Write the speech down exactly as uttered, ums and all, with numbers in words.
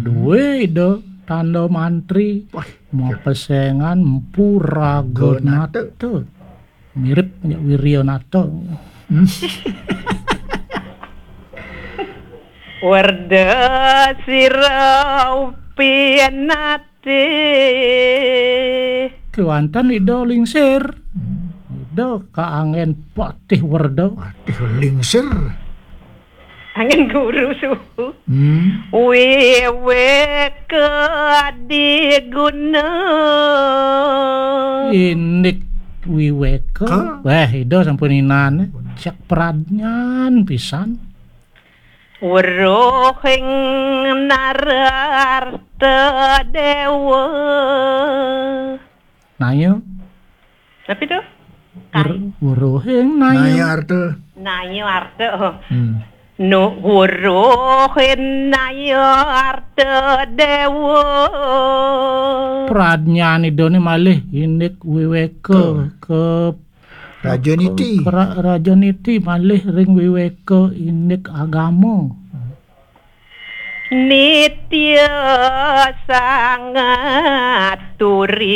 Duwe Ida tanda mantri. Wah, mapesengan Empu Raganata. Ganata. Mirip ya Wiryanata. Hmm. Werda sira pinatih. Kewanten Ida lingsir. Hmm. Ida kaangen patih werda. Patih lingsir. Angen guru suhu. Hmm. Wiweka diguna. Indik wiweka. Ka? Wah, Ida sampun inan. Cek pradnyan pisan. Weruhing Nararta Dewa. Naya. Tapi tuh? Wer-, weruhing Naya. Naya Arta. Naya Arta. Oh. Hmm. Nu weruhing Naya Arta Dewa. Pradnyan Idane malih indik wiweka. Tuh. Ke Raja Niti. Ke Ra-, Raja Niti malih ring wiweka indik agama. Nitya sangat turi.